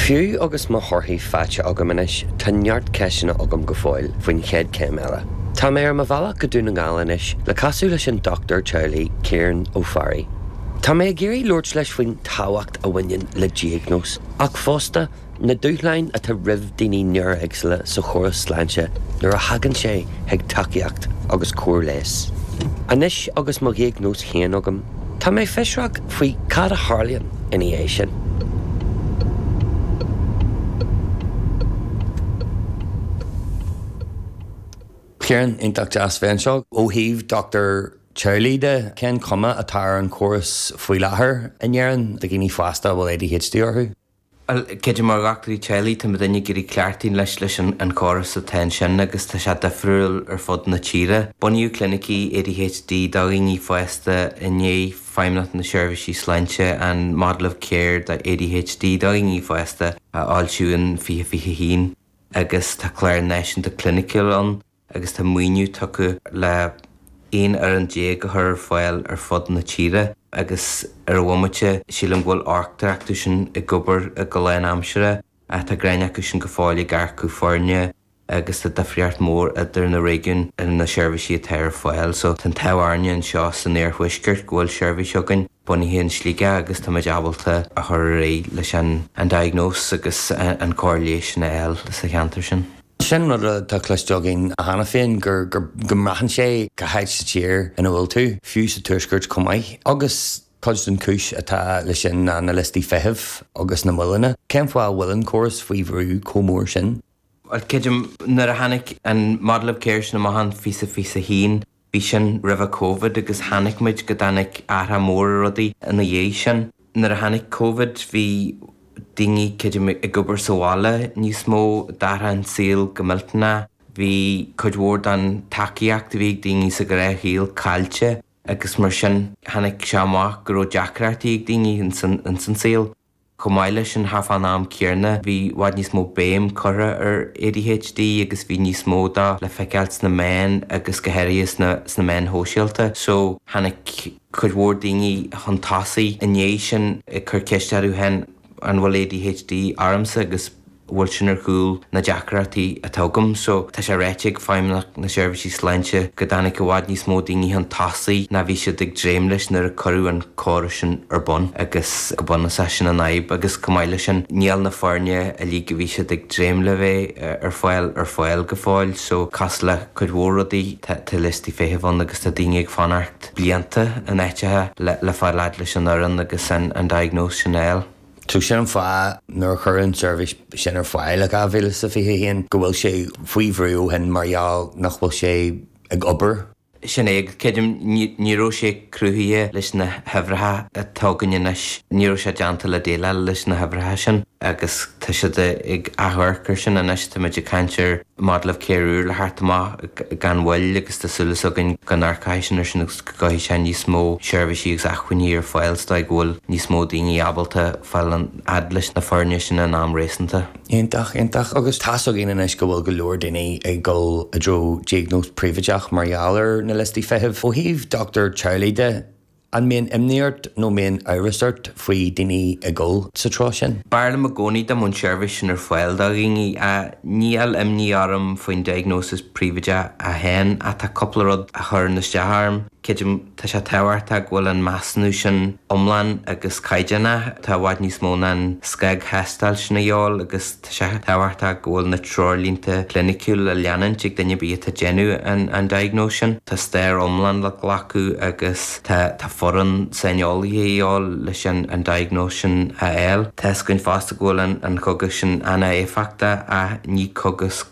Fiú agus mo thorthaí faighte agam anois, tá neart ceisteanna agam go fóill faoin chéad chéim eile. Tá mé ar mo bhealach go Dún na nGall anois le casadh leis an dochtúir teaghlaigh Ciarán Ó Fearraigh. Tá mé ag iarraidh labhairt leis faoin tábhacht a bhaineann le diagnóis, ach fosta, na dúshláin atá roimh daoine néara-éagsúla sa chóras sláinte nuair a thagann sé chuig tacaíocht agus cóir leighis. Anois agus mo dhiagnóis féin agam, tá mé fiosrach faoi cad a tharlaíonn ina dhiaidh sin. Ciarán, iontach deas bheith anseo. Ó thaobh dochtúir teaghlaigh de, cén chuma atá ar an chóras faoi láthair in Éirinn do dhaoine fásta a bhfuil ADHD orthu? Bhuel, creidim mar dhochtúirí teaghlaigh, tá muidinne ag iarraidh cleachtadh leis leis an chóras atá ansin agus tá sé difriúil ar fud na tíre. Bunaíodh clinicí ADHD do dhaoine fásta i ndiaidh Feidhmeannacht na Seirbhísí Sláinte an Model of Care do ADHD do dhaoine fásta a fhoilsiú in 2021 agus tá clár náisiúnta cliniciúil ann. agus tá maoiniú tugtha le 11 fhoireann a chur ar fáil ar fud na tíre agus ar an bhomaite sílim go bhfuil ochtar acu sin ag obair go lánaimseartha ach tá gráinne acu sin go fóill ag earcú foirne agus tá difríocht mhór idir na réigiúin ar na seirbhísí atá ar fáil. So tá an t-ádh orainne anseo san iarthuaisceart go bhfuil seirbhís againn bunaithe in Sligeach agus táimid ábalta a chur ar aghaidh leis an diagnóis agus an cóir leighis sin a fháil sa cheantar sin. Sin rud atá cloiste againn cheana féin, gur go mbraitheann sé cá háit sa tír ina bhfuil tú, fiú sa tuaisceart chomh maith. Agus cuid den chúis atá leis sin ná na liostaí feithimh agus na moilleanna. Cén fáth a bhfuil an córas faoi bhrú chomh mór sin? Bhuel, creidim, nuair a tháinig an Model of Care sin amach in 2021, Bhí sin roimhe Covid agus chonaic muid go dtáinig athrach mór ar rudaí ina dhiaidh sin. Nuair a tháinig Covid bhí daoine, creidim, ag obair sa bhaile níos mó, d'athraigh an saol go millteanach. Bhí cuid mhór den tacaíocht a bhí ag daoine sa ghnáthshaol caillte agus mar sin tháinig sé amach go raibh deacrachtaí ag daoine ins an saol. Chomh maith leis sin, thart fán am céanna, bhí i bhfad níos mó béim curtha ar ADHD agus bhí níos mó dó le feiceáil sna meáin agus go háirithe sna sna meáin shóisialta. So, tháinig cuid mhór daoine chun tosaigh i ndiaidh sin ag cur ceist orthu féin an bhfuil ADHD ormsa agus bhfuil sin ar chúl na deacrachtaí atá agam. So, tá sé ráite ag Feidhmeannacht na Seirbhísí Sláinte go dtáinig i bhfad níos mó daoine chun tosaigh ná bhí siad ag dréim leis nuair a cuireadh an córas sin ar bun agus go bunúsach sin an fhadhb agus chomh maith leis sin níl na foirne uilig a bhí siad ag dréim le bheith ar fáil ar fáil go fóill. So, cosúil le cuid mhór rudaí tá liostaí feithimh ann agus tá daoine ag fanacht blianta in áiteacha le le fáil fhad leis an fhoireann agus an an diagnóis sin a fháil. So sin an fáth nuair a cuireadh an tseirbhís sin ar fáil i 2021 go bhfuil sé faoi bhrú ó shin mar gheall nach bhfuil sé ag obair. Sin é, creidim, ní raibh sé cruthaithe leis na huimhreacha atá againn anois, ní raibh sé déanta le déileáil leis na huimhreacha sin agus tá siad ag amharc air sin anois, táimid ag caint ar Model of Care úr le theacht amach gan mhoill agus tá súil againn go n-amharcfaidh sin air sin agus go gcuirfidh sé níos mó seirbhísí agus acmhainní ar fáil sa dóigh go bhfuil níos mó daoine ábalta fáil fhad leis na foirne sin in am réasúnta. Iontach, iontach. Agus tá's againn anois go bhfuil go leor daoine ag dul i dtreo diagnóis príobháideach mar gheall ar na liostaí feithimh. Ó thaobh dochtúir teaghlaigh de, An mbíonn imní ort nó mbíonn amhras ort faoi daoine ag dul sa treo sin? B'fhearr liom i gcónaí dá mbeadh an seirbhís sin ar fáil do dhaoine. Níl imní orm faoin diagnosis príobháideach féin ach tá cúpla rud a chuireann isteach orm. Creidim tá sé tábhachtach go bhfuil an measúnú sin iomlán agus caighdeánach. Tá i bhfad níos mó ná an scagthástáil sin a dhíobháil agus Tá sé tábhachtach go bhfuil na treoirlínte cliniciúil le leanúint ag duine ar bith atá ag déanamh an diagnóis sin. Tá stair iomlán le glacadh agus tá tá foireann saineolaithe a dhíobháil leis an diagnóis sin a fháil. Tá fhios againn fosta go bhfuil an cogas sin an-éifeachtach ach ní cogas.